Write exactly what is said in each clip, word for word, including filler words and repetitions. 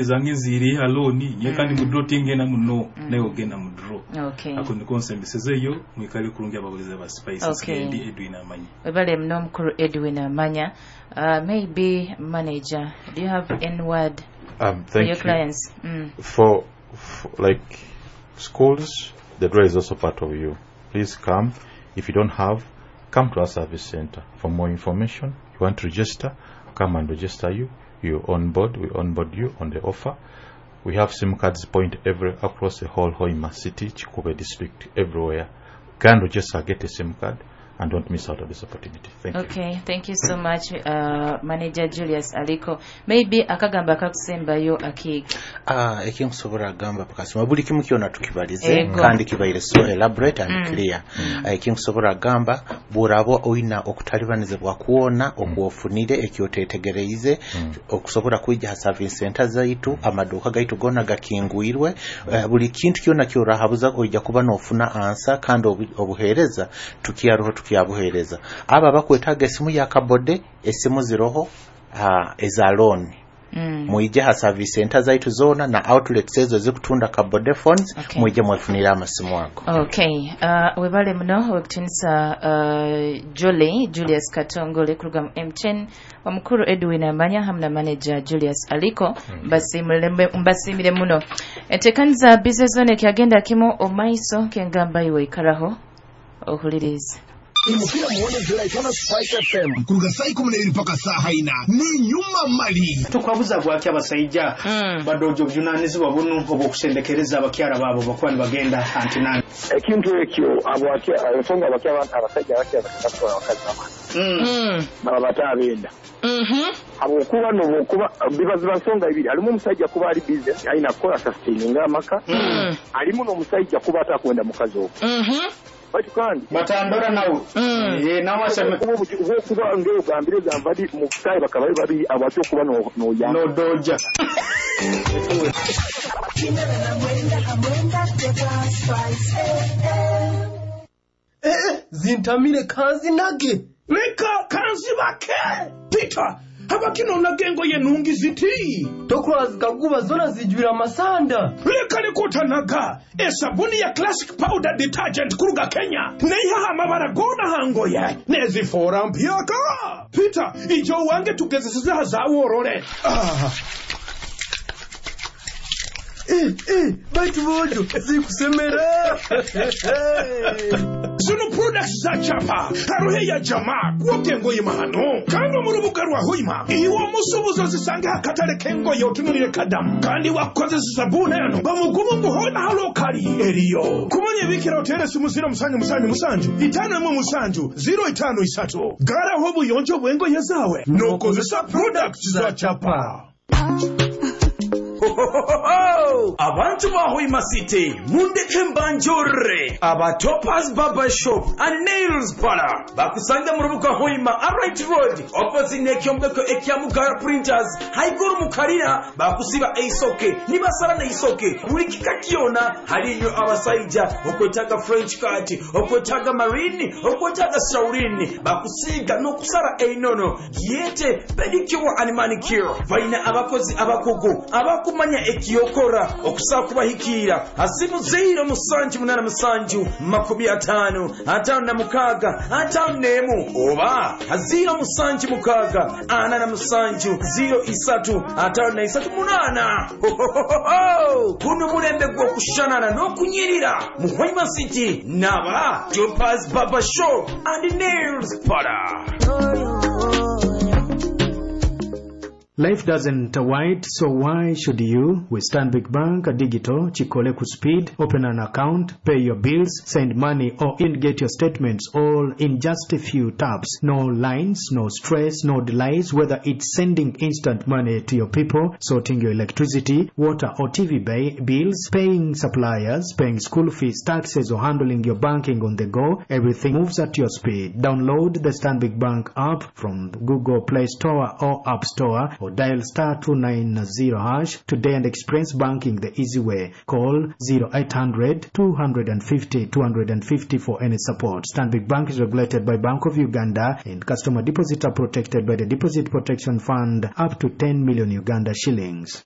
Zange ziri aloni nye kandi mu draw tingenda muno, naye ogenda mu draw. Okay. Ako niko nsembesezeyo. Mwikale kurungi ababulize ba Spice. Okay. Ndi Edwin Amanya. Webale muno, omukulu Edwin Amanya. uh, maybe manager, do you have any word Um, for thank your you. clients? mm. For, for like schools, the draw is also part of you. Please come. If you don't have, come to our service center for more information. You want to register, come and register you. You onboard, we onboard you on the offer. We have SIM cards point every across the whole Hoima city, Kikuube district, everywhere. Go and register, get a SIM card, and don't miss out on this opportunity. Thank you. Okay, thank you so much, uh, manager Julius Aliko. Maybe akagamba akakusembayo, Akiiki? Ah, ekinkusobola kugamba pakasima, buli kimu kyona tukibalize. Ego. Kandi kibaire so elaborate and Mm. clear. Ah, ekinkusobola kugamba, bw'oraba oyina okutalibanizibwa kwona okwofunire ekyotetegereize, okusobola kwija ha service center zaitu. Amaduuka gaitu gona gakingwirwe. Eh, buli kintu kyona kyorahabuza oija kuba nofuna answer, kandi obu- obuheereza tukyaroho, tukyabuheereza. Abo abakwetaaga esimu ya kabode, esimu ziroho, ah, eza loan. mm. Mwije ha service center zaitu zona na outlets ezo zikutunda kabode phones. Okay. Mwije mwefunire amasimu ago. Okay, uh, webale muno wekutinisa, uh, Jolly Julius Katongole kuruga mu M T N, omukuru Edwin Amanya hamu na manager Julius Aliko. Mbasimire, mbasimire muno. Entekaniza Business Zone ekyagenda kimu omaiso, kengamba iwe ikaraho ohulirize. Umupira muone July tano, Spice F M, kuruga saa ikumi na ibiri mpaka saa ina ni nyuma mali. Tukwabuza gwaki abasaija Mm. badoja obujunanizibwa bunu obwokusendekereza abakyara baabo bakuba nibagenda antinani? Ekintu ekyo abwaki- ensonga abaki abasajja abakya bakenda kutwala abakazi bamala Mm. baba bataabenda, Mhm. habwokuba nobwokuba biba ziba nsonga ibiri. Halimu omusajja kuba ali busy, alina kukola sustaininga amaka. Mm. Alimu n'omusajja kuba atakwenda mukazi ogwo. Mhm. Baitu kandi Batandora nawe. Mm. Eh, nawe aseme. Okuba obuki- obwokuba ngaogambire gamba ndi mu busaayi bakaba bali babiri abaki okuba no- noyamba. Nodoja. Eh, zintamire kanzinage. Leka kanzibake Peter, habakinonaga engoye nungi ziti. Tokula zikaguba zona zijwira amasanda. Leka likutanaga esabuni ya Classic Powder Detergent kuruga Kenya neihaha amabara gona hangoye nezifora mpyaka. Peter, ijo wange tugezeseza zaworore, ah. Eh, eh, baitu bojo zikusemera. Zino products za chapa haruhe ya jamaa kwoga engoye mahano, kandi mu rubuga rwa Hoima iwe omusubuzi zisange hakatale k'engoye otunulire kadamu, kandi wakozesa sabuni eno bamugumu ngu hona halokali eriyo kumanya ebikira otere simu ziro musanju musanju musanju itano emwe musanju ziro itano isatu. Garaho obuyonjo bw'engoye zawe n'okozesa products za chapa. Abantu ba Hoima City, mundeke mbanjore aba Topas Barber Shop and Nails Parlor bakusanga mu rubuga Hoima Aright Road, opposite n'ekyombeko ekya Mugara Printers, haiguru mu karina. Bakusiba eisoke nibasala neisoke buli kika kyona. Haliyo abasaija okwetaaga French cut, okwetaaga marine, okwetaaga shaurini, bakusiiga n'okusala einono giyete pedicure and manicure. Balina abakozi abakugu abakumanya ekiyokora okusobola kubahikiira. Asimu ziro musanju munana musanju makumi ataano ataano na mukaaga ataano n'emu oba ziro musanju mukaaga ana na musanju ziro isatu ataano na isatu munaana. Guno mulembe gw'okushanana n'okunyirira mu Hoima City n'aba Topas Barber Shop and Nails Parlor. Life doesn't wait, so why should you? With Stanbic Bank Digital, Chikole Speed, open an account, pay your bills, send money, or in get your statements all in just a few taps. No lines, no stress, no delays, whether it's sending instant money to your people, sorting your electricity, water or T V bay bills, paying suppliers, paying school fees, taxes, or handling your banking on the go, everything moves at your speed. Download the Stanbic Bank app from Google Play Store or App Store or dial star two nine zero hash today and experience banking the easy way. Call zero eight hundred two fifty two fifty for any support. Stanbic Bank is regulated by Bank of Uganda and customer deposits are protected by the Deposit Protection Fund up to ten million Uganda shillings.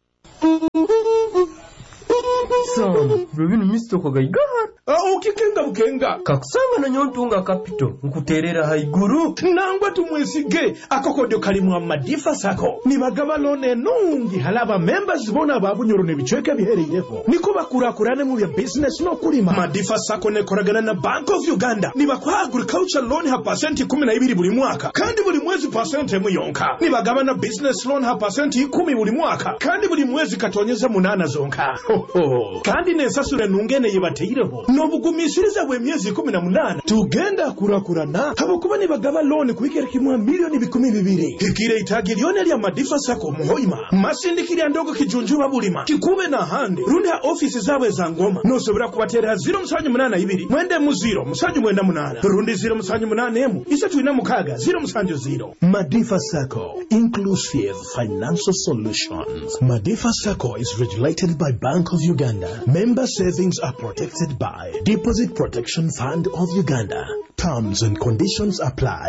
Sam, bino misito kagaigahara. Ukikenga bukenga. Kakusanga na nyontunga kapito nkuterera haiguru. Nangwa tumwesige akokodyo kalimu amadifa sako nibagaba loan enungi halaba members bona babunyoro n'ebicweka bihereireho niko bakurakurane mu bya business n'okulima. Madifa Sacco nekoragana na Bank of Uganda, nibakuha agriculture loan ha pasenti kumi na ibiri buli mwaka kandi buli mwezi pasenti emu yonka. Nibagaba na business loan ha pasenti ikumi buli mwaka kandi buli mwezi katonyeza munana zonka. Ho, ho. Kandi nensasura enungene yebateireho n'obugumisiriza bw'emyezi ikumi na munana. Tugenda kurakurana habwokuba nibagaba loan kuhikira kimwa milioni bikumi bibiri. Hikire itagi lyona lya Madifa Sacco muhoima masindikirya ndogo kijunjuba bulima kikube na hande rundi ha ofisi zabwe za ngoma nosobora kubatera zero musanju munana ibiri mwende mu zero musanju mwenda munana rundi zero musanju munana emu isatu ina mukaga zero musanju zero. Madifa Sacco, inclusive financial solutions. Madifa Sacco is regulated by Bank of Uganda. Member savings are protected by Deposit Protection Fund of Uganda. Terms and conditions apply.